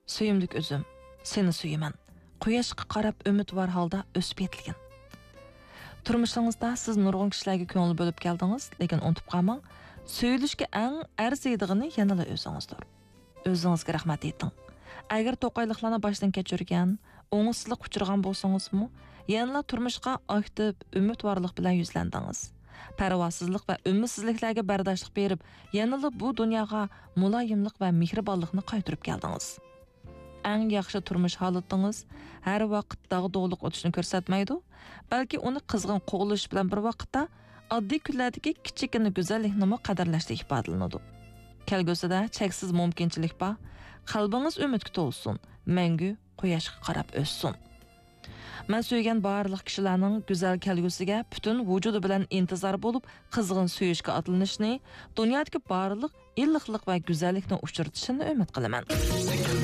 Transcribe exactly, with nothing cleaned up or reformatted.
سۆيۈملۈك ئۆزۈم، سېنى سۆيىمەن. قۇياشقا قاراپ ئۈمىدۋار ھالدا ئۆسۈپ يېتىلگىن. تۇرمۇشىڭىزدا سىز نۇرغۇن كىشىلەرگە كۆڭۈل بۆلۈپ كەلدىڭىز، لېكىن ئۇنتۇپ قالماڭ، سۆيۈلۈشكە ئەڭ ئەرزىيدىغىنى يەنىلا ئۆزىڭىزدۇر. ئۆزىڭىزگە رەھمەت ئېيتىڭ. ئەگەر توقايلىقلارنى باشتىن كەچۈرگەن، ئوڭۇشسىزلىققا ئۇچرىغان بولسىڭىزمۇ، يەنىلا تۇرمۇشقا ئاكتىپ، ئۈمىدۋارلىق بىلەن يۈزلەندىڭىز. پەرۋاسىزلىق ۋە ئۈمىدسىزلىكلەرگە بەرداشلىق بېرىپ، يەنىلا بۇ دۇنياغا مۇلايىملىق ۋە مېھرىبانلىقنى قايتۇرۇپ كەلدىڭىز. ئەڭ ياخشى تۇرمۇش ھالىتىڭىز ھەر ۋاقىت داغدۇغىلىق ئۆتۈشنى كۆرسەتمەيدۇ، بەلكى ئۇنى قىزغىن قوغلىشىش بىلەن بىر ۋاقىتتا ئاددىي كۈنلەردىكى كىچىككىنە گۈزەللىكنىمۇ قەدىرلەشتە ئىپادىلىنىدۇ. كەلگۈسىدە چەكسىز مۇمكىنچىلىك بار. قەلبىڭىز ئۈمىدكە تولسۇن، مەڭگۈ قۇياشقا قاراپ ئۆسسۇن. مەن سۆيگەن بارلىق كىشىلەرنىڭ گۈزەل كەلگۈسىگە پۈتۈن ۋۇجۇدى بىلەن ئىنتىزار بولۇپ، قىزغىن سۆيۈشكە ئاتلىنىشىنى، دۇنيادىكى بارلىق ئىللىقلىق ۋە گۈزەللىكنى ئۇچرىتىشىنى ئۈمىد قىلىمەن.